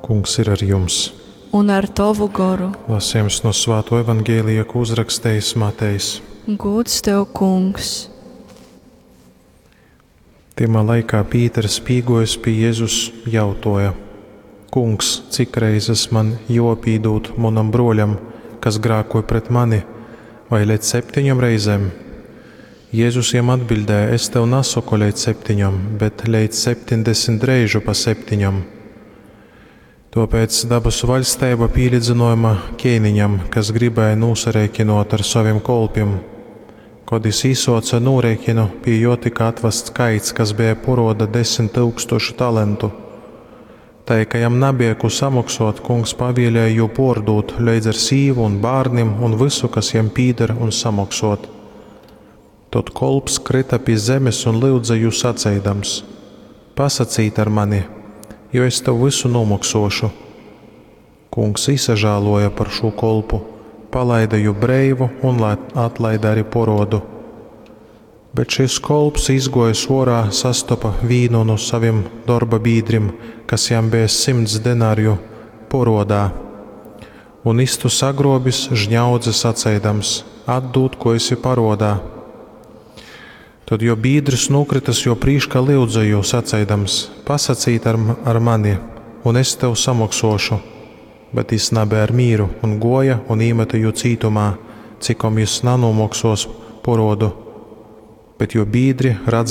Kungs ir ar jums! Un ar tovu goru. Lasījums no Svāto evaņģēlija, ko uzrakstījis Matejs. Gūds tev, kungs! Tymā laikā Pīters pīgojis pie Jēzus jautoja: Kungs, cik reizes man jopīdūt munam broļam, kas grākoja pret mani, vai leidz septiņom reizēm? Jēzus jam atbildēja: Es tev nesaku leidz septiņom, bet leidz 70 reižu pa septiņom. Tāpēc dabasu vaļstība pīlīdzinojama ķēniņam, kas gribēja nūsarēķinot ar saviem kolpiem. Kad jis īsoca nūrēķinu, pie jo tika atvasts kaits, kas bija poroda 10 000 talentu. Tai, ka jam nabija ko samaksot, kungs pavēlēja jū pordūt leidz ar sīvu un bārnim un visu, kas jam pīder, un samaksot. Tod kolps krita pie zemes un lyudza jū saceidams: Pasacīt ar mani, jo es tev visu nomoksošu. Kungs isažāloja par šo kolpu, palaida jū breivu un atlaida arī porodu. Bet šis kolps izgojis orā, sastopa vīnu no saviem darba biedriem, kas jam bija 100 denāriju porodā. Un istu sagrobis žņaudze saceidams: Atdūd, ko esi parodā. Tad jo biedrs nukritas jo prīškā lyudza jū saceidams: Pasacīt ar, ar mani, un es tev samoksošu. Bet jis nabija ar mīru un goja un īmeta jū cītumā, cikom jis nanomoksos porodu. Bet jo biedri redzādami.